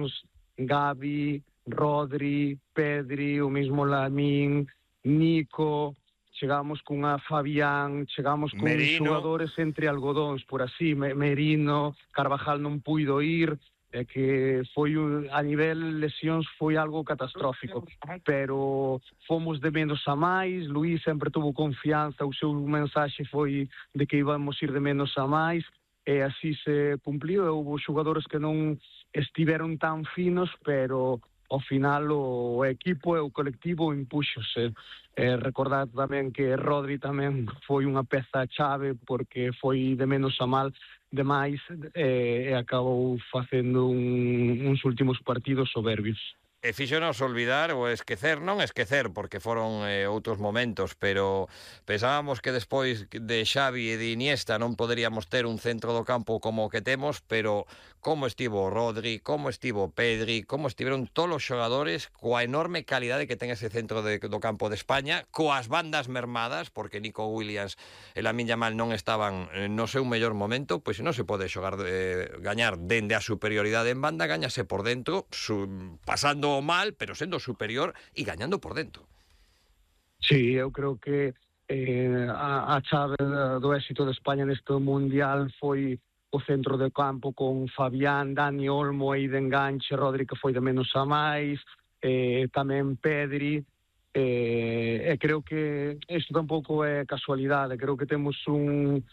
lesións, Gavi, Rodri, Pedri, o mismo Lamine, Nico, chegamos cunha Fabián, chegamos con xogadores entre algodóns, por así, Merino, Carvajal non puido ir, que foi a nivel lesións foi algo catastrófico, pero fomos de menos a máis. Luís sempre tuvo confianza, o seu mensaxe foi de que íbamos ir de menos a máis, e así se cumpliu. Houve xogadores que non estiveron tan finos, pero ao final o equipo e o colectivo impúxose. Recordad tamén que Rodri tamén foi unha peza chave, porque foi de menos a mal demais, e acabou facendo uns últimos partidos soberbios. E fíxonos olvidar ou esquecer, non esquecer, porque foron outros momentos, pero pensábamos que despois de Xavi e de Iniesta non poderíamos ter un centro do campo como o que temos, pero como estivo Rodri, como estivo Pedri, como estiveron todos os xogadores, coa enorme calidade que ten ese centro do campo de España, coas bandas mermadas, porque Nico Williams e Lamine Yamal non estaban no seu mellor momento, pois non se pode xogar gañar dende a superioridade en banda, gañase por dentro, pasando mal, pero sendo superior e gañando por dentro. Sí, eu creo que a chave do éxito de España neste Mundial foi o centro de campo con Fabián, Dani Olmo aí de enganche, Rodri que foi de menos a máis, tamén Pedri, e creo que isto tampouco é casualidade. Creo que temos un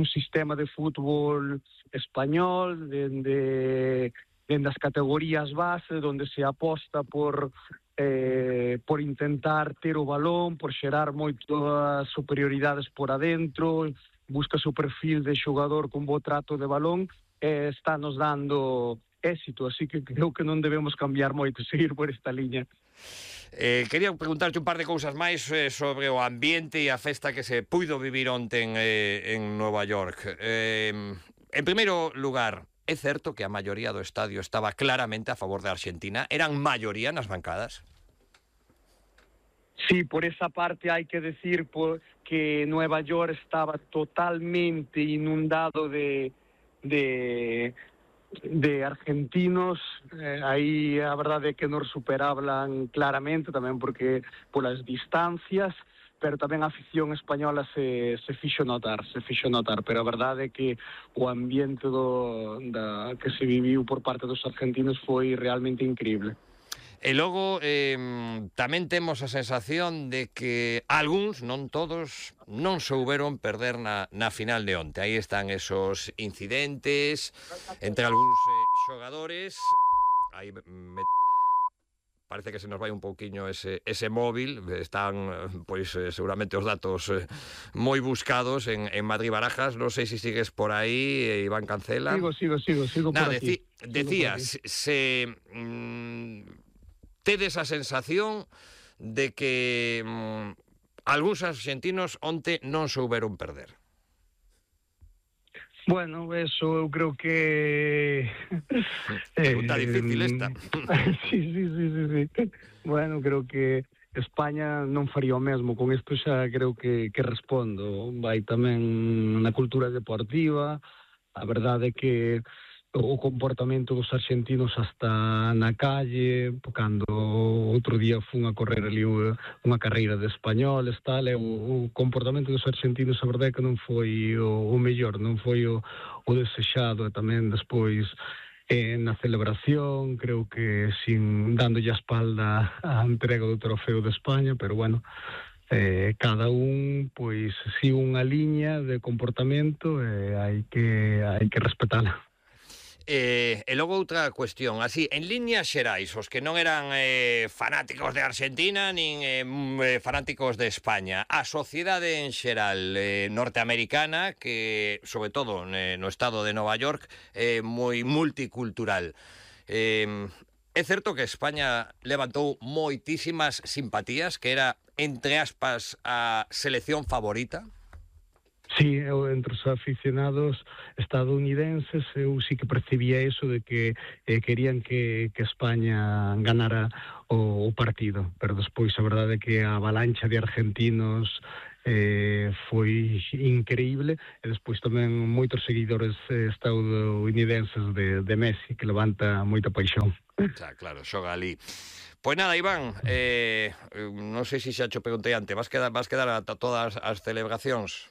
sistema de fútbol español dende as categorías base, onde se aposta por intentar ter o balón, por xerar moitas superioridades por adentro, busca o perfil de xogador con bo trato de balón, e está nos dando éxito, así que creo que non debemos cambiar moito, seguir por esta liña. Quería preguntarte un par de cousas máis sobre o ambiente e a festa que se puido vivir onten en Nova York. En primeiro lugar, é certo que a maioría do estadio estaba claramente a favor de Argentina? Eran maioría nas bancadas? Sí, por esa parte hai que decir que Nueva York estaba totalmente inundado de argentinos. Aí a verdade é que nos superablan claramente, tamén porque polas distancias, pero tamén a afición española se fixo notar, pero a verdade é que o ambiente que se viviu por parte dos argentinos foi realmente increíble. E logo tamén temos a sensación de que algúns, non todos, non souberon perder na final de onte. Aí están esos incidentes entre algúns xogadores. Aí parece que se nos vai un pouquiño ese móvil. Están, pois, seguramente os datos moi buscados en Madrid Barajas. Non sei se sigues por aí, Iván Cancela. Sigo por aquí. Decías, tedes a sensación de que algúns argentinos onte non souberon perder. Bueno, eso eu creo que... Pregunta difícil esta. Sí. Bueno, creo que España non faría o mesmo. Con isto xa creo que respondo. Vai tamén na cultura deportiva. A verdade é que o comportamento dos argentinos hasta na calle, cando outro día fun a correr ali unha carreira de españoles, tal, e o comportamento dos argentinos, a verdade é que non foi o mellor, non foi o desexado. E tamén despois na celebración, creo que dándolle a espalda a entrega do trofeo de España, pero bueno, cada un pois sigue unha liña de comportamento e hai que respetala. E logo outra cuestión, así, en líneas xerais, os que non eran fanáticos de Argentina nin fanáticos de España, a sociedade en xeral norteamericana, que, sobre todo no estado de Nova York, é moi multicultural. É certo que España levantou moitísimas simpatías, que era, entre aspas, a selección favorita? Sí, entre os aficionados estadounidenses eu sí que percibía eso de que querían que España ganara o partido, pero despois a verdade é que a avalancha de argentinos foi increíble, e despois tamén moitos seguidores estadounidenses de Messi, que levanta moita paixón. Xa, claro, xoga ali. Pois nada, Iván, non sei se xa cho preguntei antes, vas quedar a todas as celebracións?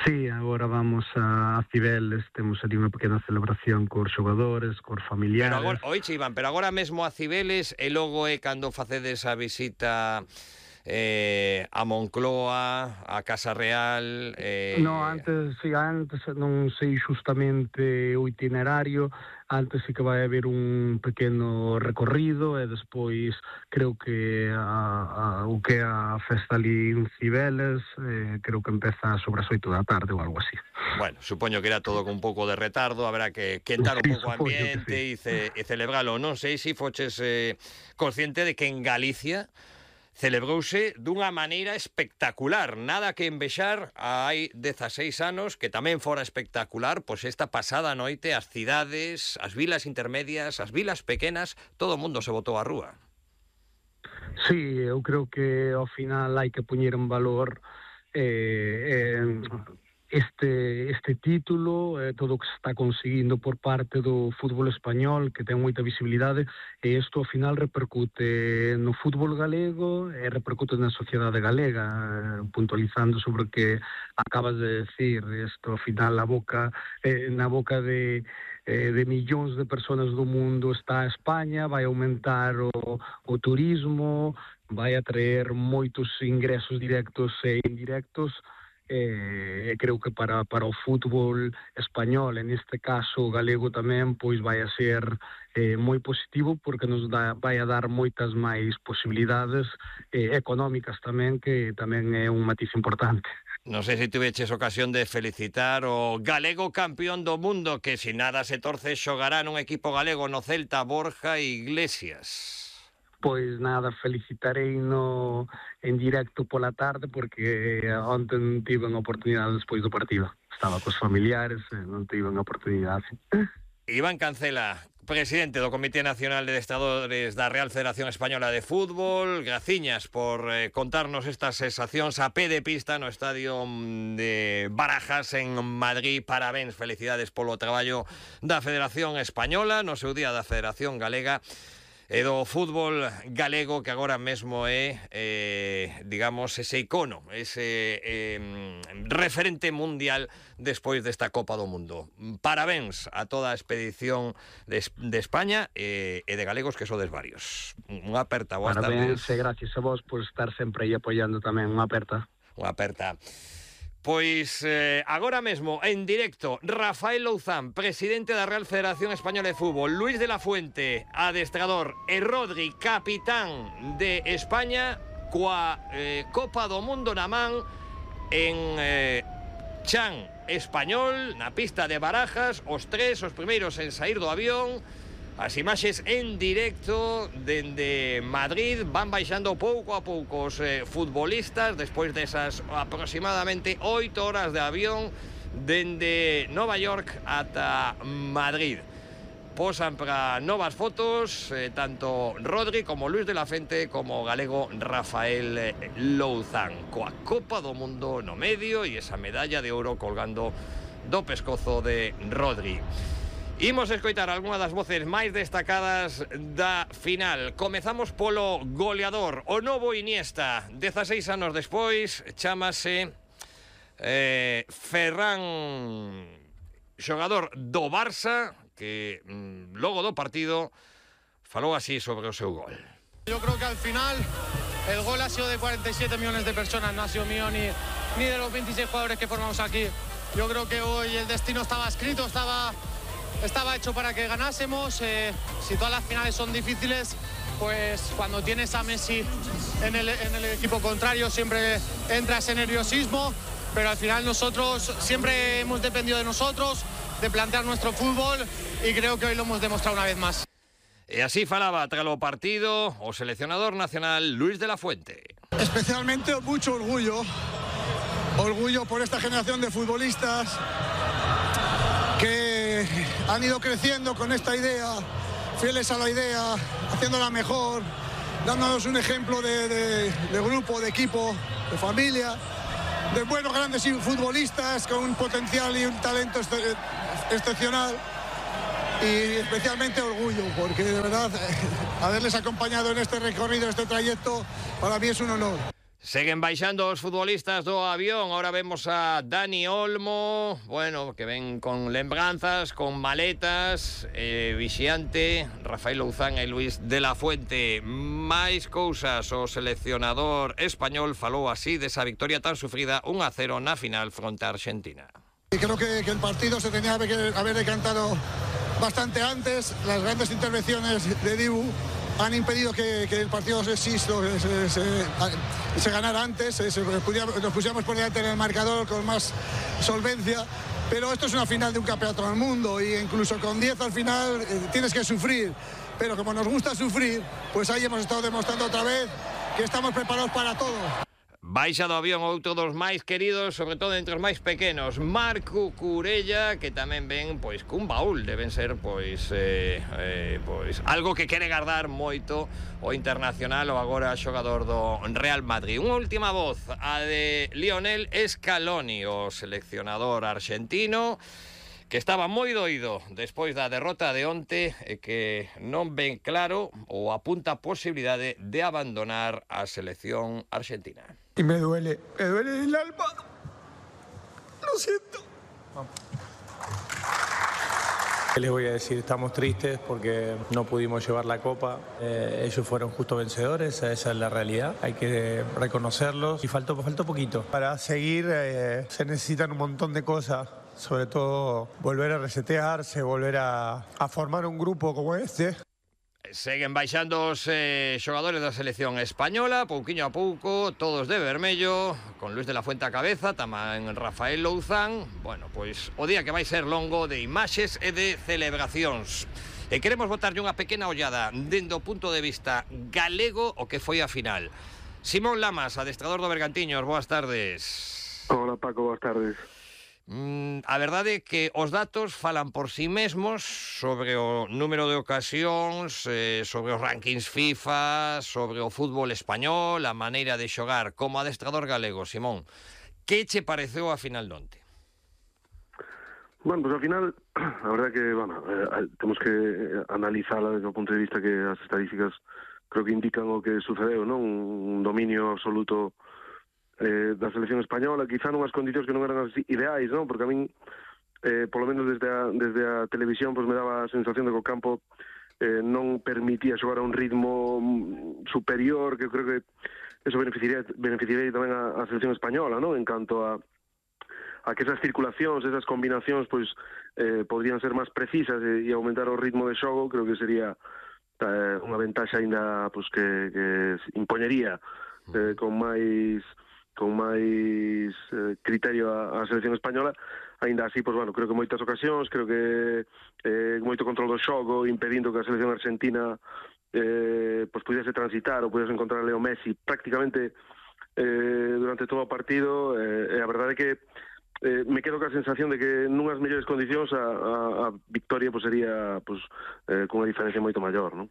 Sí, agora vamos a Cibeles, temos ali unha pequena celebración cos xogadores, cos familiares. Pero agora, oiche, Iván, pero agora mesmo a Cibeles e logo é cando facedes a visita a Moncloa, a Casa Real... No, antes non sei xustamente o itinerario, antes sí que vai haber un pequeno recorrido e despois creo que o que é a festa ali en Cibeles, creo que empeza sobre as 8 da tarde ou algo así. Bueno, supoño que era todo con un pouco de retardo, habrá que quentar un pouco o ambiente e celebralo. Non sei se foches consciente de que en Galicia celebrouse dunha maneira espectacular, nada que envexar hai 16 anos, que tamén fora espectacular, pois esta pasada noite as cidades, as vilas intermedias, as vilas pequenas, todo o mundo se botou á rúa. Sí, eu creo que ao final hai que poñer en valor este título, todo o que se está conseguindo por parte do fútbol español, que ten moita visibilidade, e isto ao final repercute no fútbol galego e repercute na sociedade galega, puntualizando sobre o que acabas de decir. Isto ao final na boca de millóns de persoas do mundo está a España, vai aumentar o turismo, vai atraer moitos ingresos directos e indirectos, e creo que para o fútbol español, en este caso galego tamén, pois vai a ser moi positivo, porque nos vai a dar moitas máis posibilidades económicas tamén, que tamén é un matiz importante. Non sei se tuveches ocasión de felicitar o galego campeón do mundo, que se nada se torce xogará nun equipo galego no Celta, Borja Iglesias. Pois nada, felicitareino en directo pola tarde, porque ontem tive unha oportunidade despois do partido. Estaba cos familiares e non tive unha oportunidade. Iván Cancela, presidente do Comité Nacional de Adestradores da Real Federación Española de Fútbol, graciñas por contarnos estas sensacións a pé de pista no estadio de Barajas en Madrid. Parabéns, felicidades polo traballo da Federación Española, no seu día da Federación Galega, e do fútbol galego, que agora mesmo é, digamos, ese icono, ese referente mundial despois desta Copa do Mundo. Parabéns a toda a expedición de España e de galegos, que sodes varios. Unha aperta, boas tardes. Parabéns e gracias a vos por estar sempre aí apoiando tamén. Unha aperta. Unha aperta. Pois agora mesmo, en directo, Rafael Louzán, presidente da Real Federación Española de Fútbol, Luis de la Fuente, adestrador, e Rodri, capitán de España, coa Copa do Mundo na man en Chan Español, na pista de Barajas, os primeiros en saír do avión. As imaxes en directo dende Madrid, van baixando pouco a pouco os futbolistas despois desas aproximadamente 8 horas de avión dende Nova York ata Madrid. Posan para novas fotos tanto Rodri como Luis de la Fuente como o galego Rafael Louzán, coa Copa do Mundo no medio e esa medalla de ouro colgando do pescozo de Rodri. Imos escoitar algunha das voces máis destacadas da final. Comezamos polo goleador, o novo Iniesta, 16 anos despois, chámase Ferran, xogador do Barça, que logo do partido falou así sobre o seu gol. Yo creo que al final el gol ha sido de 47 millones de personas, no ha sido mío ni de los 26 jugadores que formamos aquí. Yo creo que hoy el destino estaba escrito, estaba hecho para que ganásemos. Si todas las finales son difíciles, pues cuando tienes a Messi en el equipo contrario siempre entra ese nerviosismo, pero al final nosotros siempre hemos dependido de nosotros, de plantear nuestro fútbol, y creo que hoy lo hemos demostrado una vez más. E así falaba tras o partido o seleccionador nacional Luis de la Fuente. Especialmente mucho orgullo por esta generación de futbolistas que han ido creciendo con esta idea, fieles a la idea, haciéndola mejor, dándonos un ejemplo de grupo, de equipo, de familia. buenos grandes futbolistas con un potencial y un talento excepcional. Y especialmente orgullo, porque de verdad haberles acompañado en este recorrido, en este trayecto, para mí es un honor. Seguen baixando os futbolistas do avión. Ahora vemos a Dani Olmo, bueno, que ven con lembranzas, con maletas, Vixiante, Rafael Louzán e Luis de la Fuente. Máis cousas, o seleccionador español falou así desa victoria tan sufrida 1-0 na final fronte a Argentina. Y creo que el partido se tenía que haber decantado bastante antes. Las grandes intervenciones de Dibu han impedido que el partido se ganara antes, nos pusiéramos por delante en el marcador con más solvencia, pero esto es una final de un campeonato del mundo y incluso con 10 al final tienes que sufrir, pero como nos gusta sufrir, pues ahí hemos estado demostrando otra vez que estamos preparados para todo. Baixa do avión outro dos máis queridos, sobre todo entre os máis pequenos, Marco Curella, que tamén ven pois cun baúl, deben ser pois algo que quere guardar moito o internacional ou agora xogador do Real Madrid. Unha última voz, a de Lionel Scaloni, o seleccionador argentino, que estaba moi doído despois da derrota de onte e que non ven claro ou apunta a posibilidade de abandonar a selección argentina. Y me duele el alma. Lo siento. ¿Qué les voy a decir? Estamos tristes porque no pudimos llevar la copa. Ellos fueron justo vencedores, esa es la realidad. Hay que reconocerlos y faltó poquito. Para seguir se necesitan un montón de cosas. Sobre todo volver a resetearse, volver a formar un grupo como este. Seguen baixando os xogadores da selección española, pouquiño a pouco, todos de vermello, con Luis de la Fuente a cabeza, tamén Rafael Louzán. Bueno, pois o día que vai ser longo de imaxes e de celebracións. E queremos botarlle unha pequena ollada dende o punto de vista galego o que foi a final. Simón Lamas, adestrador do Bergantiños, boas tardes. Hola Paco, boas tardes. A verdade é que os datos falan por si mesmos sobre o número de ocasións, sobre os rankings FIFA, sobre o fútbol español, a maneira de xogar. Como adestrador galego, Simón, que che pareceu a final de onte? Bueno, pues al final, a verdad que, bueno, temos que analizarla desde o punto de vista que as estadísticas creo que indican o que sucedeu, non? Un dominio absoluto da selección española, quizá nunhas condicións que non eran as ideais, non? Porque a min, polo menos desde a televisión, pues me daba a sensación de que o campo non permitía xogar a un ritmo superior, que eu creo que eso beneficiaría tamén a selección española, non? En canto a que esas circulacións, esas combinacións, pues podrían ser máis precisas e aumentar o ritmo de xogo, creo que sería unha ventaxa aínda pues, que impoñería con máis criterio a selección española. Ainda así, pues, bueno, creo que moitas ocasións, creo que moito control do xogo, impedindo que a selección argentina pues, pudiese transitar ou pudiese encontrar a Leo Messi prácticamente durante todo o partido. A verdade é que me quedo ca sensación de que nunhas mellores condicións a victoria pues, sería pues, con unha diferencia moito maior, non?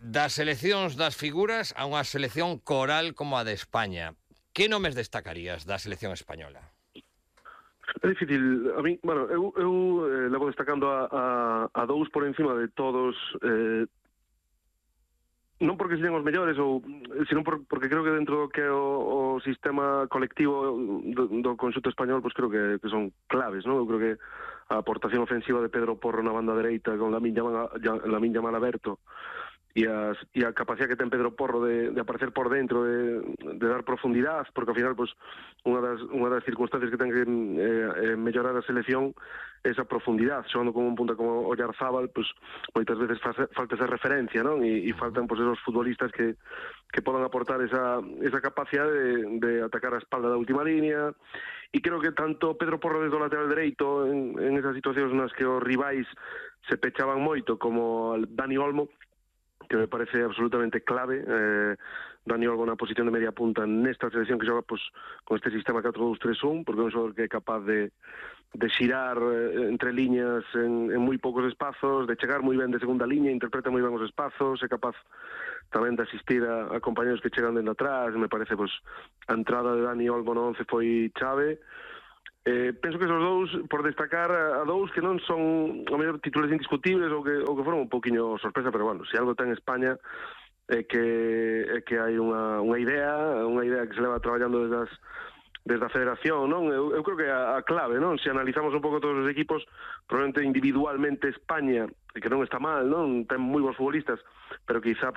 Das seleccións das figuras a unha selección coral como a de España, que nomes destacarías da selección española? É difícil. A mí, bueno, eu levo destacando a dous por encima de todos, non porque sean os mellores, sino porque creo que dentro do que é o sistema colectivo do conxunto español, pues creo que son claves, non? Eu creo que a aportación ofensiva de Pedro Porro na banda dereita con Lamine Yamal aberto e a capacidade que ten Pedro Porro de aparecer por dentro, de dar profundidade, porque ao final pues, unha das circunstancias que ten que mellorar a selección é esa profundidade, xogando como un punta como Oyarzábal, pues, moitas veces falta esa referencia, non? E faltan pues, esos futbolistas que podan aportar esa capacidade de atacar a espalda da última línea. E creo que tanto Pedro Porro desde o lateral dereito en esas situacións nas que os rivais se pechaban moito, como Dani Olmo, que me parece absolutamente clave. Dani Olmo na posición de media punta nesta selección que xoga pues, con este sistema 4-2-3-1, porque é un xogador que é capaz de xirar entre liñas en moi poucos espazos, de chegar moi ben de segunda liña, interpreta moi ben os espazos, é capaz tamén de asistir a compañeros que chegan dentro atrás. Me parece pues, a entrada de Dani Olmo no 11 foi chave. Penso que esos dous, por destacar a dous que non son o mellor titulares indiscutibles ou que foron un poquinho sorpresa, pero bueno, se algo ten España é que hai unha idea que se leva traballando desde a federación, non? Eu creo que a clave, non? Se analizamos un pouco todos os equipos, probablemente individualmente España, que non está mal, non? Ten moi bons futbolistas, pero quizá